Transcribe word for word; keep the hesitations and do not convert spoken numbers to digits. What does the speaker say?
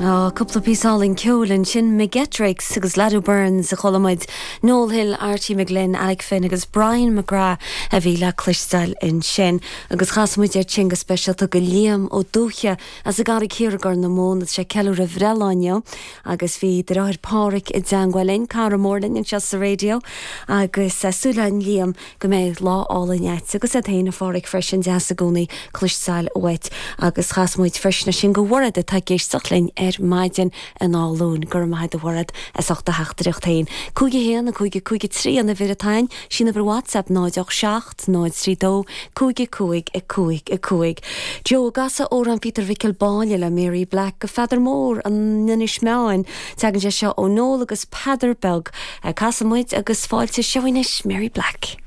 Á cúpla píosa álainn ceoil ansin McGettricks agus Lado Burns a chuala muid Noel Hill, Archie McGlynn, Alec Finn agus Brian McGrath a bhí le cloisteáil ansin agus chas muid é sin go speisialta go Liam Ó Dúche as an gCarraig Thiar i gCorr na Móna sé ceiliúradh a bhreithlá inniu agus bhí deartháir Pádraig i dteagmháil linn cara mór linn anseo sa raidió agus súil againn Liam go mbeidh lá álainn agat agus é féin a Phádraig freisin deas i gcónaí cloisteáil uait agus chas muid freisin sin go Mhairéad atá ag éisteacht linn ar maidin in Áth Luain gur maith do Mhairéad as ucht a theachtaireacht féin. Cúig a haon a cúig a cúig a trí an uimhir atá ann sin uimhir WhatsApp náid seacht náid trí dó cúig a cúig a cúig a cúig. Joe gasa amhrán Peter Mhicil Báile le Mary Black go Pheadar Mór in Inis Meáin Tagann sé seo ó Noel agus Peadar Beag casfaidh muid agus fáilte seo anois Mary Black.